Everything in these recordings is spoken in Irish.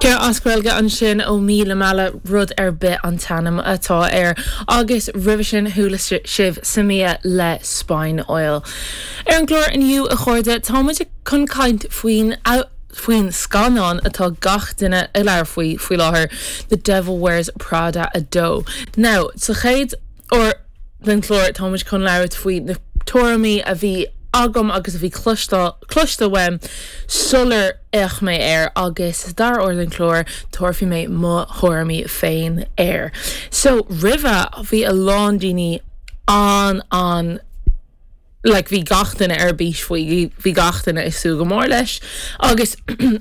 Ceol as Gaeilge ansin ó Míle Meala, Rud ar Bith an t-ainm atá air, agus roimhe sin chuala sibh Samia le Spine Oil. Ar an gclár inniu, a chairde, tá muid chun caint faoin faoin scannán atá gach duine ag labhairt faoi faoi láthair, The Devil Wears Prada 2. Now, sa chéad uair den chlár tá muid chun labhairt faoi na tuairimí a bhí agam agus a bhí cloiste uaim sular fhéach mé air agus sa dara huair den chlár tabharfaidh mé mo thuairimí féin air. So roimhe bhí a lán daoine an an like bhí gach duine ar bís faoi, bhí gach duine ag súil go mór leis agus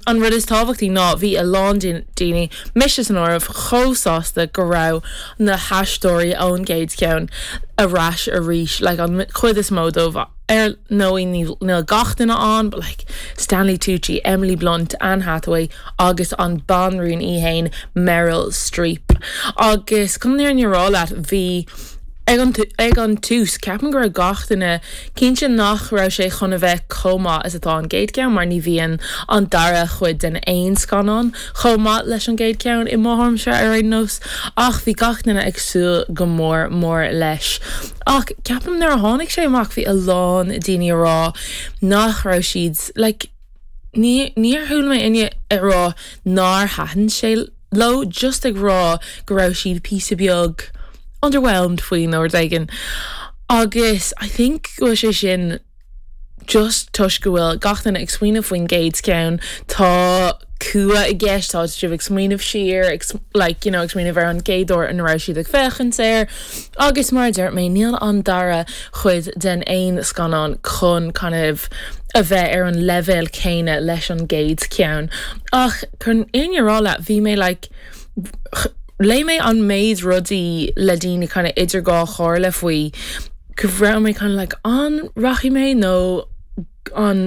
an rud is tábhachtaí ná bhí a lán daoine, mise san áireamh, chomh sásta go raibh na haisteoirí ón gcéad cheann ar ais arís, like an chuid is mó dóibh, ar ndóigh níl gach duine ann but like Stanley Tucci, Emily Blunt, Anne Hathaway agus an banríon í fhéin Meryl Streep. Agus chun an fhírinne a rá leat bhí Ag an ag an tús, ceapaim go raibh gach duine cinnte nach raibh sé chun a bheith chomh maith is atá an gcéad ceann mar ní bhíonn an dara chuid den aon scannán chomh maith leis an gcéad ceann, i mo thuairimse ar aon nós. Ach bhí gach duine ag súil go mór mór leis. Ach ceapaim nuair a tháinig sé amach bhí a lán daoine a rá nach raibh siad like ní níor chuala mé éinne ag rá nár thaitin sé leo just ag rá go raibh siad píosa beag underwhelmed faoi nó rud éigin agus I think go bhfuil sé sin just toisc go bhfuil gach duine ag smaoineamh faoin gcéad cheann, tá cumha i gceist, tá sibh ag smaoineamh siar, ag like you know ag smaoineamh ar an gcéad uair ina raibh siad ag féachaint air agus mar a deir mé níl an dara chuid den aon scannán chun kind of a bheith ar an leibhéal céanna leis an gcéad cheann ach chun an fhírinne a rá leat bhí mé like léigh mé an méid rudaí le daoine kind of idir dhá chomhairle faoi go raibh mé kind of like an rachaidh mé nó an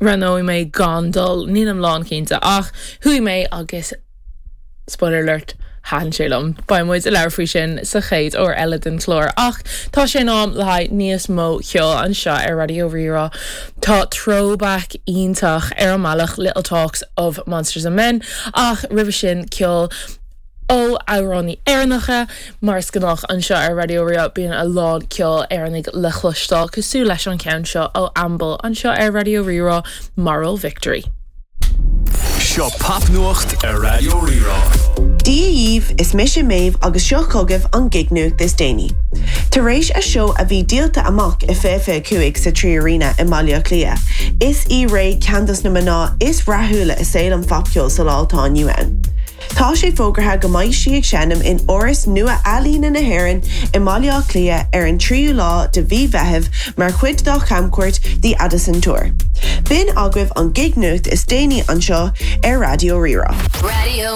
roghnóidh mé gan dul nílim lánchinnte ach chuaigh mé agus Spoiler alert, thaitin sé liom. Beidh muid ag labhairt faoi sin sa chéad uair eile den chlár. Ach tá sé in am le haghaidh níos mó ceoil anseo ar Raidió Rí-Rá. Tá throwback iontach ar an mbealach, Little Talks of Monsters and Men, ach roimhe sin ceol ó amhránaí Éireannacha. Mar is gnách anseo ar Raidió Rí-Rá bíonn a lán ceol Éireannaigh le chloisteáil cosúil leis an cheann seo ó Amble anseo ar Raidió Rí-Rá, Moral Victory. Seo Popnuacht ar Raidió Rí-Rá. Dia dhíbh, is mise Méabh agus seo chugaibh an gig-nuacht is déanaí. Tar éis a seó a bhí díolta amach i 2025 sa 3Arena i mBaile Átha Cliath, is í Raye ceann dos na mná is rathúla i saol an phopcheoil sa lá atá inniu ann. Tá sé fógartha go mbeidh sí ag seinm in Áras Nua-Ealaíne na hÉireann i mBaile Átha Cliath ar an 3ú lá de mhí Mheithimh mar chuid dá chamchuairt The Addison Tour. B'in agaibh an gig-nuacht is déanaí anseo ar Raidió Rí-Rá.